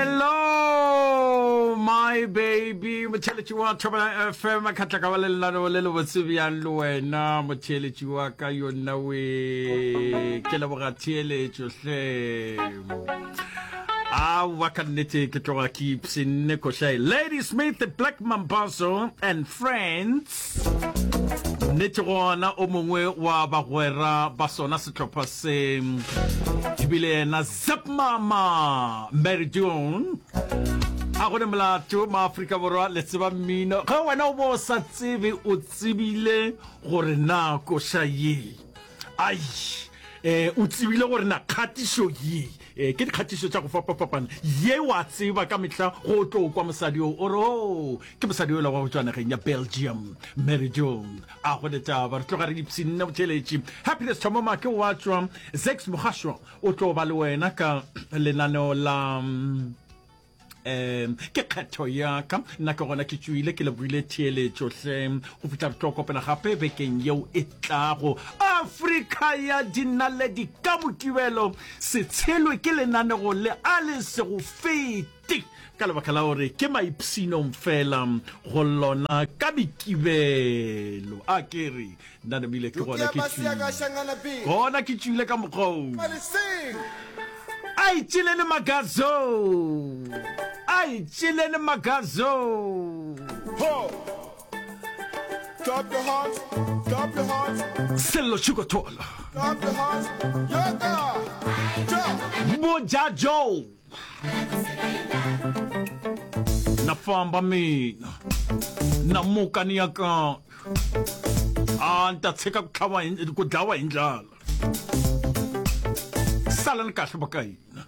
Hello my baby motheeletši wa Thobela FM ka tla ka ba le lenaneo le le botse bjang le wena motheeletši wa ka yonna we ke leboga theeletšo hle aowa ka nnete ke tloga ke ipshinne košae Lady Smith Black Mambazo and Friends nnete gona o mongwe wa bagwera ba sona sehlopha se ebile yena Zep Mama Mary June a gone molato maafrika borwa le tseba mmino ge wena o bo o sa tsebe o tsebile gore na koša ye ai eh o tsebile gore na kgatišo ye eh, ke dikgatišo tša go fapafapana ye wa tseba ka mehla go tlo kwa mosadi o o re o ke mosadi yola wa go tšwa nageng ya Belgium Mary June a go letaba re tloga re ipshinne botheletši Happiness Thomoma ke wa tšwa Zex Mogasho O tlo ba le wena ka lenaneo la um ke kgetho ya ka nna ke gona ke tšwile ke lebogile theeletšo hle go fihla re tlo kopana gape bekeng yeo e tlago afrika ya dinaledi ka mokibelo se tshelwe ke lenanego le a le se go fete ka lebaka la gore ke maipshinong fela go lona ka mekibelo a ke re Nna namile ke gona ke tšwile. Gona ke tšwile ka mokgwa o. A e tšelele magazo. A e tšelele magazo. Clap your hands, clap your hands. Sello Tšhikothola. Clap your hands. Yoga. Boja Joe. Na famba mina. Na muka ni ya kaya. A ni ta tshika ku tlhava hi ku dlawa hi ndlala. Salani kahle va ka hina.